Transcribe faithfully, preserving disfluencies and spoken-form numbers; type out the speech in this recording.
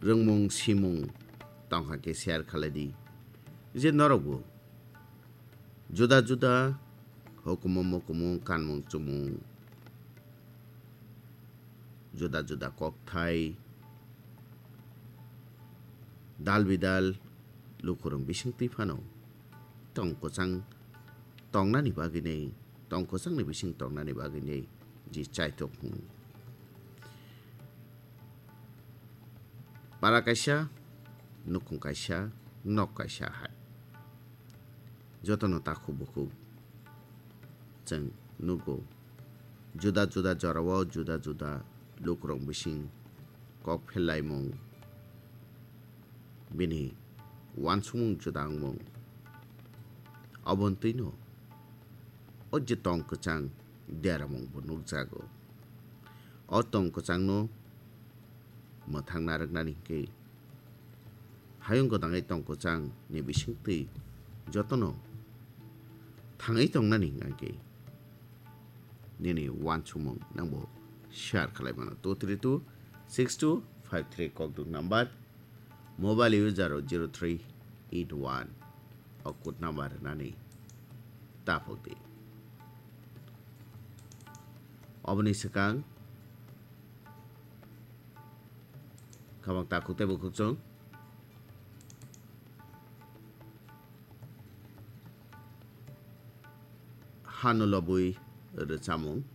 rwngmung simung tongkha khe share khalai di. Je norokbo juda juda hukumu mukumu kanmung chumung, juda juda kokthai, dal bidal lukurok bisingtwi phano tong kwchang tongnani bagwinai, tong kwchangni bising tongnani bagwinai je chaitok hwn. Para kaisa, nukhung kaisa, nok kaisa hai. Jotono takhuk bukhuk chwng nugo. Juda juda jorao juda juda lukurok bising kok phellaimung, bini uansukmung juda wngmung. Obontwino o je tong kwchang deramung bo nukjago. O tong kwchangno mwthang narwknani hwnkhe hayung gwnangwi tong kwchang ni bisingtwi jotono thangwi tongnani hwnkhe nini uansukmung nangbo share khalai mano two three two six two five three kokduk number, mobile user o zero three eight one o code number rwnani taphok di. Oboni swkang khabang takhuk tei bukhuk chwng hano lobwi rwchamung